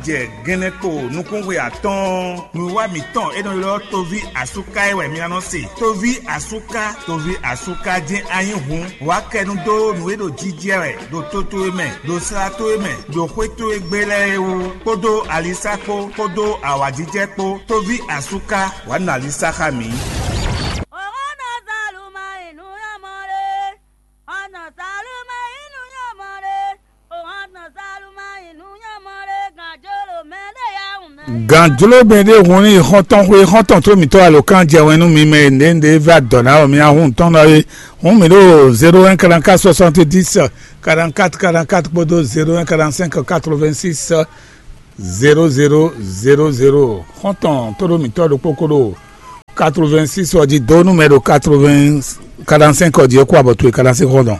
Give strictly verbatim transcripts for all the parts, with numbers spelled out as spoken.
Jɛ gɛnɛ kpo nukúnxwe atɔ́ɔ́n, nǔwiwa mǐtɔn e nɔ ylɔ́ Toví Asúká é wɛ mi ná nɔ se. Toví Asúká, Toví Asúká jɛ́n a nyí hǔn, wǎ kɛ nú dó nǔ e ɖo jijɛ wɛ ɖo to towe mɛ, ɖo sla towe mɛ, ɖo xwé towe gbe lɛ́ɛ é wú, kpódó alisá kpó, kpódó awǎjijɛ kpó. Toví Asúká, wǎ nɔ alisá xá mǐ. Gǎnjló mɛ ɖé hun ní xɔ́ntɔn xwé xɔ́ntɔn tó mǐtɔn alo kan jɛ wɛn nú mi mɛ e nɖě nɖě vɛ adɔ̌ ná wɛ mi ahun tɔn ná é. Hun mi ɖo zéro un quarante-quatre soixante-dix quarante-quatre quarante-quatre kpódó zéro un quarante-cinq quatre-vingt-six zéro zéro zéro zéro. Xɔ́ntɔn tó ɖo mǐtɔn ɖokpó kó ɖo quatre-vingt-six ɔ́ jí dó nú mɛ ɖo quatre-vingts quarante-cinq ɔ́ jí é kó abɔ towe quarante-cinq xɔ́ntɔn.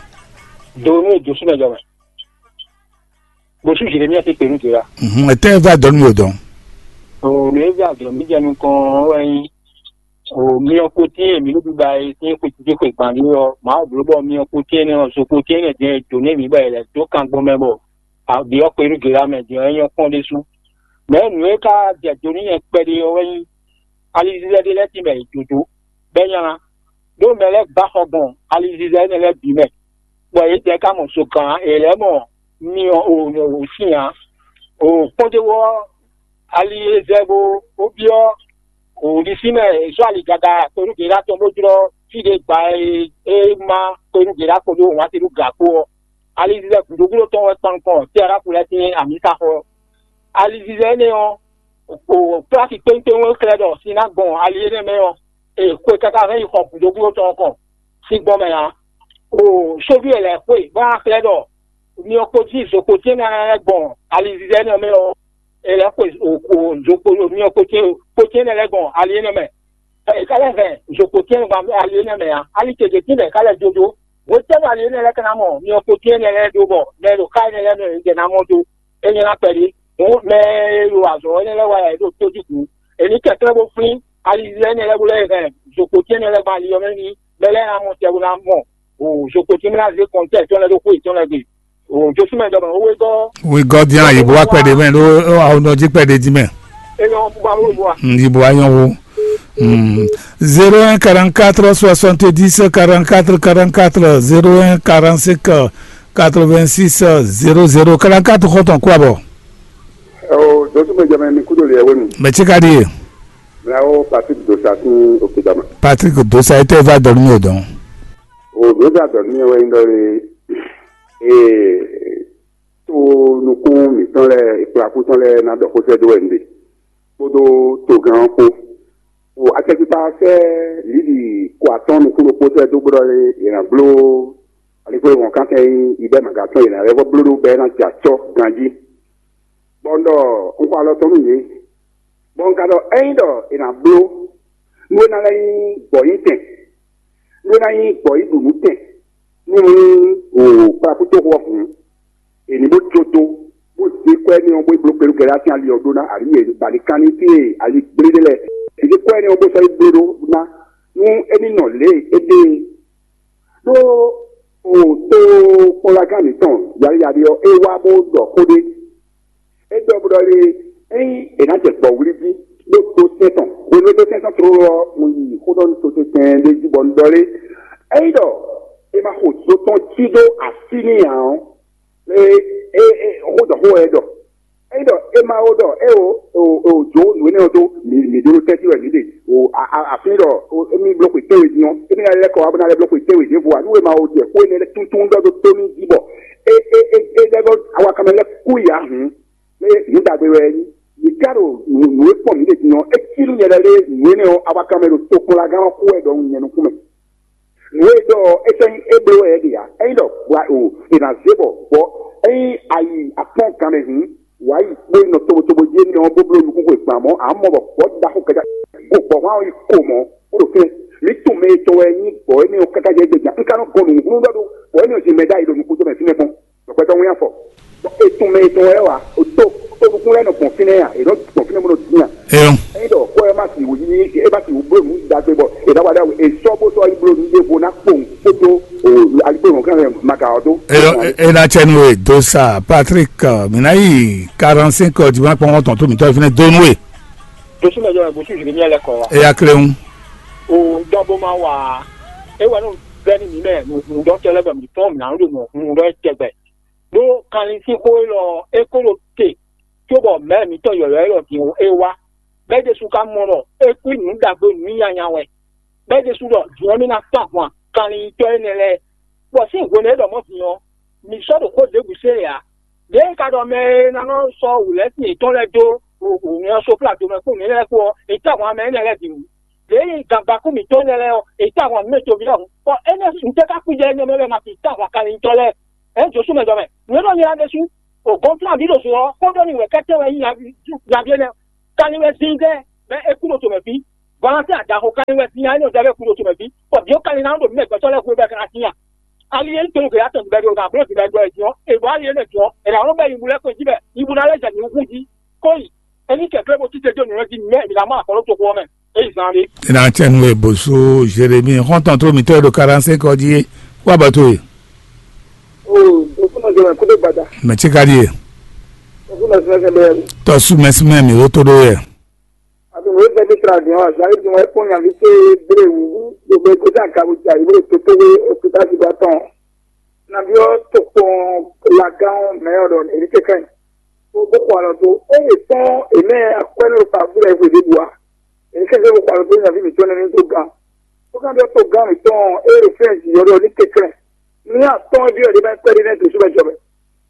Donu e Josué jɔ mɛ. Bosú Jeremia ti pè nú Jera. Mhm, etɛ́ vɛ adɔ̌ nú mi ò dɔn? O mi e vɛ adɔ̌ mi jɛ nukɔn wɛ nyí. O mi ɔ ko tín mi nú biba e tín xwe títí xwe gban ní ɔ, Mawu bló bɔ mi ɔ ko tín énɛ́ ɔ, so ko tín énɛ́ jɛ dǒ nú mi bɔ è lɛ̌ dó kan gbɔn mɛ bɔ, a ɖi ɔ́ xwe nú Jera mɛ din ɔ́, é nyɔ́ kpɔ́n ɖésú. Mɛ̌ nǔ e ka jɛ do nú nyɛ kpɛɖé ɔ́ wɛ nyí, alizizɛ ɖé lɛ́ɛ tínmɛ è dǒ dó, bɔ é nylá, ɖó mɛ lɛ́ɛ gbá xɔ gbɔn alizizɛ énɛ́ lɛ́ɛ bǐ mɛ, bɔ yědɛɛ ka mɔ zokan ǎ; è lɛ̌ mɔ myɔ o o sin ǎ. O kpɔ́ndéwú ɔ́, ali e zɛ bó bó byɔ́ o ɖisí mɛ è sɔ́ ali gaga kpenu gěɖá tɔn bó jlɔ́ fí ɖé gba e é má kpenu gěɖá kpo ɖó wǎn te ɖó gǎ kpó ɔ́, alizizɛ gǔdo gúdo tɔn wɛ kpan nukɔn Tɛráfu lɛ́ɛ sín amǐsaxɔ ɔ́. Alizizɛ énɛ́ ɔ́, o pláki kpéŋkpéŋ e xlɛ́ ɖɔ sin ná gbɔn ali énɛ́ mɛ ɔ́, è xwe káká hɛn yi xɔ gǔdo gúdo tɔn ɔ́ kɔn sin gbɔn mɛ ǎ. O sóví e lɛ̌ xwe bó ná xlɛ́ ɖɔ myɔ kpó jí zo kpó tɛ́nwe ná lɛ́ gbɔn alizizɛ énɛ́ ɔ́ mɛ ɔ́, è lɛ̌ xwe o o zo kpó myɔ kpó tɛ́nwe kpó tɛ́nwe lɛ́ gbɔn ali énɛ́ mɛ. È ka lɛ́ hɛn zo kpó tɛ́nwe gbɔn ali énɛ́ mɛ ǎ. Ali kějé tínmɛ è ka lɛ́ jó dó. Hwetɛ́nu ali énɛ́ lɛ́ɛ ka ná mɔ myɔ kpó tɛ́nwe lɛ́ɛ ɖó bɔ mɛ e ɖo xá énɛ́ lɛ́ɛ mɛ è jɛ ná mɔ dó? É nyɔ́ ná kpɛɖé. Hǔn mɛ e ɖo azɔ̌ énɛ́ lɛ́ɛ wa wɛ è ɖo tójú kǔ. È nǐ kɛnklɛ́n bó flín alizizɛ énɛ́ lɛ́ɛ bó lɛ́ hɛn zokpotɛ́nnɛ lɛ́ɛ gbɔn ali ɔ́ mɛ n'i, bɔ é lɛ́ ná mɔ tɛ bó ná mɔ zokpotɛ́nnɛ ná zé kɔntɛ́ tɔn lɛ́ɛ ɖó xwé yětɔn lɛ́ɛ gbe. Josú mɛ ɖɔ mɛ wé gɔ́. Wegɔ́ dín ayǐ bó wá kpɛɖé mɛ ɖó awo nɔ jí kpɛɖé dín mɛ. É nyɔ́ bó bá wó bó wa. Yí bó wá nyɔ́ wó. Zéro un quarante-quatre soixante-dix quarante-quatre quarante-quatre, zéro un quarante-cinq quatre-vingt-six zéro zéro quarante-quatre xɔtɔn kú abɔ. Ɔ Josú mɛ jɛ mɛ mi kúdó lè ɛwé mi. Mɛ tí ka ɖíe. Mɛ awo Patrick Dosa sín Okidama. Patrick Dosa, etɛ́ va dɔn nú mi ò dɔn? O Dosa dɔn nú mi wɛ nyí ɖɔ lé. Ee, to nukún mǐtɔn lɛ́ɛ, kplakú tɔn lɛ́ɛ ná ɖɔ xó sɛ́ dó wɛ un ɖe, kpódó togán ɔ́ kpó. O akɛkpikpa sɛ́ Lidi ko atɔ́ɔ́n nukún ɖokpó sɛ́ dó bó ɖɔ lé, è nǎ bló aligbólóhɔn kántɛn nyí ibɛ́ mǎga tɔn, è nǎ lɛ́ vɔ́ bló ɖó bɔ é ná jɛ acɔ́ ganjí. Bɔ un ɖɔ un xɔ alɔ tɔn nú yě, bɔ un ka ɖɔ ényí ɖɔ è nǎ bló nú é ná lɛ́ nyí gbɔ̌nyitɛn, nú é ná nyí gbɔ̌ yi ɖu nǔ tɛn nú o kplakútoxo ɔ́ hǔn, è nǐ bó jó dó, bó zé kwɛ́ énɛ́ ɔ́, bó yi bló kpelúkɛlá sín ali ɔ́ ɖó ná, abǐ è ba ní kán ní fí e ali gblé ɖé lɛ́ɛ. È zé kwɛ́ énɛ́ ɔ́ bó sɔ́ yi bló ɖó ná, nú é ní nɔ lě e é ɖe é. Ɖó o tó kpɔ́nlagán mǐtɔn Yaliyali ɔ́, é wá bó ɖɔ xó ɖé. É ɖɔ bó ɖɔ lé, ényí è nǎ jɛ gbɔ̌wlí jí, bó dó sɛ́n tɔn, hwenu e dó sɛ́n tɔn tlóló ɔ́, un yi xó ɖɔ nú totɛn ɖé jí bɔ un ɖɔ lé, ényí ɖɔ è ma xo zo tɔn cí dó así n'i ǎ ɔ́, é é é xó ɖɔ xó wɛ é ɖɔ. Ényí ɖɔ é ma ó ɖɔ é o o o jǒ nǔ énɛ́ ɔ́ dó, mǐ mǐ ɖó tɛ́ntin wɛ mǐ ɖe, o a a afin ɖɔ émí bló xwe tɛ́nwe din ɔ́, émí ná lɛ́ kɔ wá bó ná lɛ́ bló xwe tɛ́nwe ɖěvo ǎ, nú è ma ó jɛ xó énɛ́ lɛ́ɛ tuntun ɖɔ dó tó mì jí bɔ é é é é lɛ́ bɔ awakanmɛ lɛ́ɛ kú yi ǎ hǔn. Ée nǔ ɖagbe wɛ é nyí. Mǐ ka ɖo nǔ e kpɔ́n mǐ ɖe din ɔ́, é cí nú nyɛ lɛ́ɛ lé nǔ énɛ́ ɔ́, awakanmɛ ɖo tokpɔnlagán ɔ́ kú wɛ ɖɔhun nyɛ nukún mɛ. Nǔ e ɖɔ ɔ́, é sɔ́ nyí é bló wɛ é ɖe ǎ. Ényí ɖɔ hwa o, è nǎ zé bɔ vɔ̌, ényí a yi akpɔ́n gan mɛ hǔn, wǎ yi kpó yi nɔ tobotobo jí énɛ́ ɔ́, bó bló nukún xwe gban mɔ̌, ǎ mɔ bɔ vɔ̌ ɖaxó kɛká go gbɔ̌ hwan ɔ́ yi ko mɔ̌, bó ɖo fínɛ́. Mǐ tunwun mɛ e tɔn wɛ nyí gbɔ̌ énɛ́ ɔ́ káká jɛ gbɛ̌ jan. Un ka nɔ gɔn nǔ hlún ɖɔ ɖó gbɔ̌ énɛ́ ɔ́ jí mɛ ɖ'ayǐ ɖo nukúnjɔmɛ fínɛ́ kpɔ́n. Gbɛtɔ́ wɛn afɔ. Etɔn mɛ etɔn wɛ wa. O tó o nukún lɛ nɔ gbɔn fínɛ́ ya. E nɔ gbɔn fínɛ́ bó nɔ dín ya. Eyɔn. Eyi ɖɔ kɔ ɛ ma si wò yi e ma si wò bló nǔ dagbe bɔ e ɖa wa ɖa e sɔ bó sɔ yi bló nǔ ɖevo na kpɔn kpótó o alikpo nɔ kan ma ka ɔ dó. Eyɔn. E ná cɛ nú we, Dosa Patrick, mǐ ná yi quarante-cinq dimanche kpɔ́n tɔn tó mǐtɔn fínɛ́ dó nú we. Dosu mɛ jɔ mɛ bosu ziri miɛ lɛ kɔ wa. Eya kle ŋu. O dɔn bo ma wa. E wɛ no bɛ ni mi mɛ nu dɔn tɛ lɛ bɛ mi tɔn mi na ɖo nu dɔn tɛgbɛ. Ɖó kanlin sín xó élɔ́ é kó ɖo te cóbɔ mɛ̌ mǐtɔn yɔ̌yɔ́ élɔ́ din é wá. Bɛ́ ɖésú ka mɔ ɖɔ é kú nǔ ɖagbe nǔ nyanya wɛ. Bɛ́ ɖésú ɖɔ vǐ ɔ́ ní ná kpán ahwan kanlin-nyitɔ́ énɛ́ lɛ́ɛ, bɔ sín hwenu e é ɖɔ mɔ̌ din ɔ́, mǐ sɔ́ ɖo xó ɖěbǔ se ǎ. Lě e ka ɖɔ mɛ e ná nɔ sɔ́ wǔlɛ́sin yětɔn lɛ́ɛ dó wǔnywɛ́ ɔ́ só kplá do mɛ kpó nǔ énɛ́ lɛ́ɛ kpó ɔ́, è tá ahwan mɛ énɛ́ lɛ́ɛ bǐ wú. Lě e nyí gangbaku mǐtɔn énɛ́ lɛ́ɛ ɔ́, è tá ahwan nǔ mɛ toví lɛ́ɛ hǔn. Bɔ énɛ́ ntɛ́ ka kpíjɛ énɛ́ mɛ lɛ́ɛ ma fi tá ahwan kanlin-nyitɔ́ lɛ́ɛ? Ě Josú mɛ jɔ mɛ. Nǔ e nɔ nylá ɖésú, o gɔ́nflán ví ɖo zo ɔ́, xó ɖɔ ni wɛ kɛ́tɛ́ wɛ nyí nyaví énɛ́. Kanlin wɛ zín zɛ, bɔ é kú ɖo tomɛ fí. Vɔlantɛ adaxo kanlin wɛ zín nya énɛ́ ɔ́ ɖɛvɛ kú ɖo tomɛ fí. Bɔ vǐ ɔ́ kanlin ná ɖo mɛ gbɛtɔ́ lɛ́ɛ xwé bɔ é ka ná tín a? Ali e un to nú gběɖá tɔn bɛ́ ɖo ná bló din bɛ́ ɖɔ ɛ jí ɔ́, è ɖǒ ali énɛ́ jí ɔ́, è nǎ nɔ bɛ nyibú lɛ́ kɔn jí bɛ nyibú ná lɛ́ jɛ nyǐkún jí. Kó yi, é ní kɛ̀klɛ́ bó títɛ jó nǔ lɛ́ɛ jí mɛ è nǎ mɔ axɔ́ ɖó toxo ɔ́ mɛ. É yi zán ɖé. Ina cɛnu e bosu Jérémie xɔntɔn tó mítɔ́ e ɖo quarante-cinq ɔ́ jí é, wá bɔ tó e. O, o fún ọjọ́ rẹ̀ kó tó gbàdá. Mɛ tí ka ɖíe. O fún ọjọ́ rẹ̀ kó tó gbàdá. Tɔ́sú mɛsúmɛ mǐ ó tó ɖó yɛ. Àti wòye fẹ́ bí tra dìnyɔn wá zan yìí wọ́n kó yàn fi ṣe bèrè wù gbogbo ẹgbẹ́ tí a ka wò jà yìí wòye tó tó wé òkúta ti bá tán. Nàbí ọ́ tó kpɔn lagán mẹ́ ọ̀dọ̀ èyí kẹ́kẹ́. Ó bó kó alɔ tó. Ó yè tán èmẹ́ akwẹ́ ló pa fúlẹ̀ ìwé dé bua. Èyí kẹ́kẹ́ bó kó alɔ tó yàn fi mǐtọ́ nínú tó gan. Ó kàn bí ọ́ tó gan mǐtọ́ é rè fẹ́ǹsì yọ̀dọ̀ ní kẹ́kẹ́. Ní àtọ́ bí ọ̀dẹ́ bá pẹ́ dé náà tó sóbẹ́ jọ bẹ́.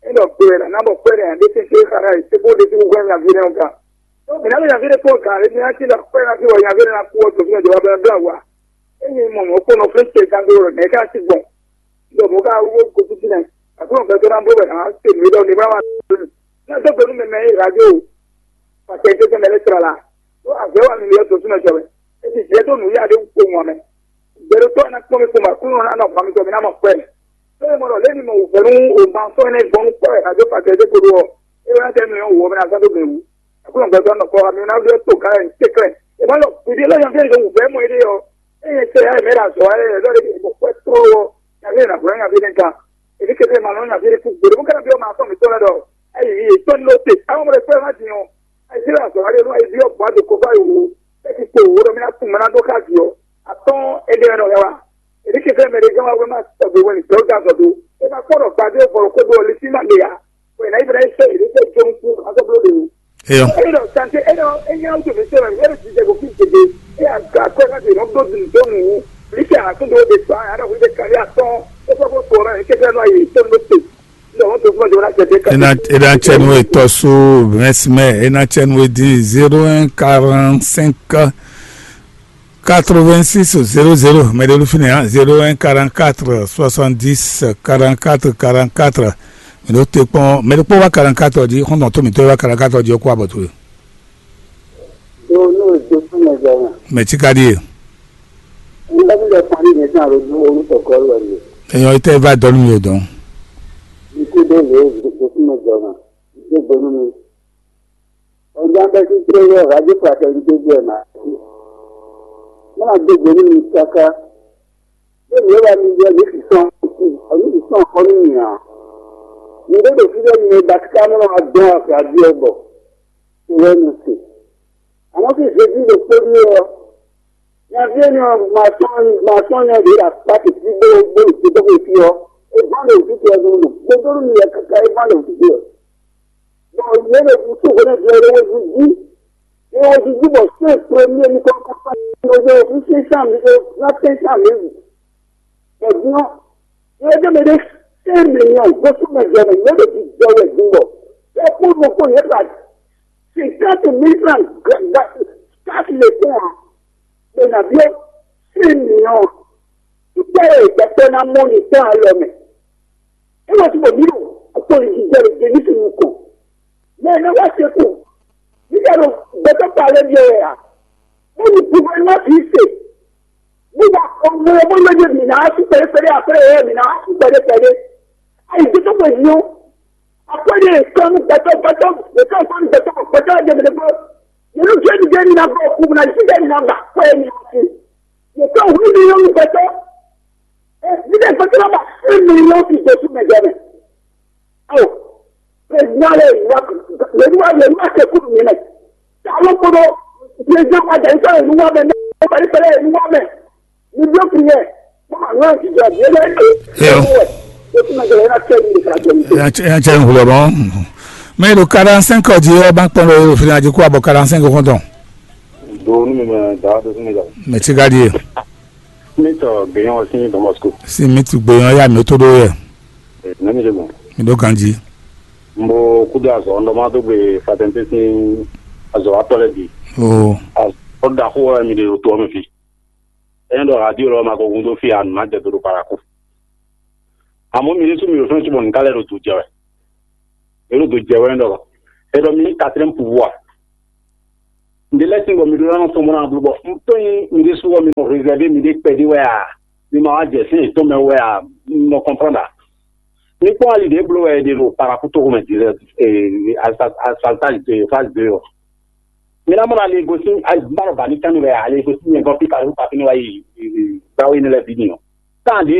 Ena kpɛɖɛ ná bɔ kpɛɖɛ nya ɖe sese xana yi sebo ɖe seko hwɛ nyaví nɛ ga. Ɖo mǐ ná ɖo nyaví ɖe kpɔn ga ɖe mǐ ná ti ɖɔ kpɛɖɛ ná ti wɔ nyaví ɖe ná kú ɔ dǒ fínɛ jɔwá bɛ ná blá wa. Ényí mɔ mɔ̌ kpɔ́n nɔ flé ce gán dó ɖɔ nɛ̌ ká sí gbɔn. Ɖɔ mɔ̌ ká wó gosísí nɛ. Aklúnɔ gbɛtɔ́ ná bló wɛ ná se nǔ e ɖɔ ní bá wà. Ná dó gbe nú mɛ mɛ e radio. Pàtẹ tó tɛnɛ lɛ tlala. Tó azɔ̌ wa mi yɔ dǒ súnmɛ jɔ mɛ. E ti jɛ tó nǔ ya ɖé kpo ŋɔ mɛ. Gbɛɖótɔ́ ná kpɔ́n mi kpɔ́n mɛ Aklúnɔ ná nɔ hwan mi tɔ mi ná mɔ kpɛ́. Tó e mɔ ɖɔ lě mi mɔ wǔvɛ́ nú o ma sɔ́ énɛ́ gbɔn nú kpɔ́ wɛ a dó pàtẹ dó koɖó ɔ, é wɛ ná tɛ nú nyɔ̌ wǔ ɔ́ mɛ ná zán dó mɛ wú. Aklúnɔ gbɛtɔ́ nɔ kɔ mi ná ɖó tó gǎn ɛ tɛ́klɛ́. E ma ɖɔ kùdí lɔ nyɔ̌ fí e wǔvɛ́ mɔ éɖée ɔ, ényɛ tɛ ya mɛ ɖo azɔ̌ wa lɛ́ɛ lɔ ɖé mɔ kpɛ́ tlóló ɔ, nyavě ná hwlɛ́n nyavě nɛ́ gán. Èmi keke ma nɔ nyavě kú gběɖé bó ká ná byɔ́ ma tɔn mǐtɔn lɛ́ɛ ɖɔ, ayi yě tɔn ní ló te. Àwọn ọmọ rẹ̀ pẹ́ má din ɔ, ayi sí azɔ̌ wa lé nú ayi byɔ́ gbǎ ɖo kɔfá yi wò, é ti kpo wò ɖɔ mí ná kún mɛ ná ɖó xá vǐ ɔ. Atɔ́n éɖée wɛ nɔ hɛ wa. Èmi keke mɛ ɖé gán wa wɛ má tɔgbe wɛ ní dɔ́ gán zɔ dó. É ma kpɔ́ ɖɔ gbadé vɔ̌ kó ɖó ɔ lé sí má le ǎ. Wɛ ná yi bɛ́ ná yi sɛ èɖé sɛ jó nukún azɔ bló ɖe wò. Eyɔ. Eyi ɖɔ tante eyi ɖɔ eyi ɖɔ wotò mi sɛ wɛ eyi ɖɔ ti jɛ go fi gege eyi aga kɔ ká ti nɔ do dunu do nu wu li kɛ a tún do de gba a ɖɔ wuli de kari atɔn e fɔ ko to ɔrɔ e keke nɔ ayi to nɔ te. Ndɔ wọn to fún ọjọ́ wọn láti ẹgbẹ́ ká. Ena ena cɛnu etɔ so mɛsimɛ ena cɛnu edi zéro un quarante cinq quatre-vingt-six zéro zéro, mɛ ɖé ló fínɛ́ ǎ, zéro un quarante-quatre soixante-dix quarante-quatre quarante-quatre. Mɛ ɖó te kpɔn, mɛ ɖó kpɔn wá quarante-quatre jí, xɔ́ntɔn tó mǐtɔn wá quarante-quatre jí ɔ́ kó abɔ towe. Do nú èso fún mi jẹ náà. Mɛ tí ka ɖíe. Nígbà tí ìjọ parí yẹn sí àròjù orúkọ kọ́ lọ ni. Èèyàn itẹ́ bá dọ́nú mi ò dán. Ikú dé lè èso fún mi jẹ náà. Ìdí ìgbónú mi. Ọjọ́ abẹ́ sí pé yóò rájú pàtó ní gbogbo ẹ̀ máa ṣe. Wọ́n máa gbogbo nínú káká. Bẹ́ẹ̀ ni ó wà ní ilé ẹ̀mí sísan ọ̀nì sísan ọ̀kọ́ nínú ìyàn. Ní gbogbo síbẹ̀ ni Batikánú máa gbọ́n àgbà bí ọgbọ̀. Ìwé ẹnu sè. Àwọn sì ṣe bí lè pé ní ọ. Ní abíyé ni máa tán máa tán ní ọdún ìlà pàtó sí gbogbo ìṣèjọba ìfi ọ. Ìgbọ́n lè tún ti ẹnu lò. Gbogbo ní ìyẹn kankan ìgbọ́n lè tún ti ọ. Bɔn yě ɖo kúkú hwenu ɖe ɖe wezun jí. Yě wezun jí bɔ sɛ́n premier mi kɔ kɔkɔ ɖo wezun sísan mi ɖo na tɛnsan mi wù. Bɔ din ɔ́, yě ɖe mɛ ɖe sɛ́n mi nyɔ gbósú mɛ jɛ mɛ yě ɖo jijɔ wɛ din bɔ. Yě kpó nukpó yě ba cinquante mille francs gba kasi le kpɔn ǎ. Bɛ na biɔ sɛ́n mi nyɔ. Títɛ yɛ gbɛtɔ na mɔ ni tɔn alɔ mɛ. É wá sí bòmí o, àpò ìdíje rẹ̀ jẹ́ nítorí nǹkan. Mẹ ẹ̀ náà wá ṣe kù. Nígbà tó gbẹtọ́ pa alẹ́ bí ẹ̀ yà, ó ní gbogbo ẹ̀ wá fi ṣe. Nígbà ọmọ ọmọ lóye mi náà sí pẹ̀lẹ́pẹ̀lẹ́ àpẹẹrẹ ẹ̀ mi náà sí pẹ̀lẹ́pẹ̀lẹ́. Àyè tó tó pọ̀ yìí o. Àpẹẹrẹ nǹkan ní gbẹtọ́ gbẹtọ́ gbẹtọ́ nǹkan ní gbẹtọ́ gbẹtọ́ ẹ̀ jẹ́ mi lẹ́gbẹ́. Yẹnu jẹ́ mi jẹ́ mi náà bọ̀ kú mi náà sí jẹ́ mi náà gbà pẹ́ mi náà sí. Nǹkan òun ní yẹn ń gbẹtọ́. Ẹ bí dẹ́ gbẹtọ́ náà bá fún mi ní ó ti gbẹ̀sùn mẹ́jọ mẹ́. Alo, président lé, lè nu wa lè nu wa se kúrú mi mɛ. Alo kpoɖo, président wa jɛ sɔrɔ nu wa mɛ, ne pɛlɛ pɛlɛ nu wa mɛ. Mi do prière. Mama nua ti jɔ bi ele. Yo. Ko ti ma jɛ na tɛ ni ka tɛ ni. Ya cɛ ya cɛ ŋu lɔ bɔn. Mais le quarante-cinq heures du ba kpɔn le fina du quoi, bon, quarante-cinq heures. Do nu mi mɛ da do nu mi da. Mais tu gardé. Mi tɔ gbɛyɔn si Don Bosco. Si mi tu gbɛyɔn ya mi to do ye. Ne mi de bon. Mi do ganji. Mbo kudo azɔ ndɔ ma do gbe fatɛnte si azɔ atɔ lɛ bi. Oh. Azɔ da ko mi de to mi fi. Ɛn dɔ radio lɔ ma ko gun do fi anu ma jɛ do do paraku. Àmọ́ mi ní sún mi ò fẹ́ túbọ̀ nìkan lẹ́nu tó jẹ wɛ. Èrò tó jẹ wɛ ń dọ̀rọ̀. Ẹ dọ̀ mi ní quatrième pouvoir. Ǹdí lẹ́sìn bọ̀ mi ɖó lánàá tɔmɔ náà bló bọ̀. Ntɔ́nyin mi ɖé súwọ́ mi nɔ réservé mi ɖé kpɛdí wɛ à. Mi ma wá jẹ sí ètò mɛ wɛ à. Nɔ comprendre à. Mi kpɔ́n ali ɖě bló wɛ ɖe ɖo paraku tó xomɛ di lɛ. Asaltage de phase deux ɔ. Mi ná mɔ ali gosi. Baro ba ní kánni wɛ ali gosi nyɛ gɔn pípa ló pa fínú wá yi. Báwo yín lɛ bí ni ɔ. Tá à ń di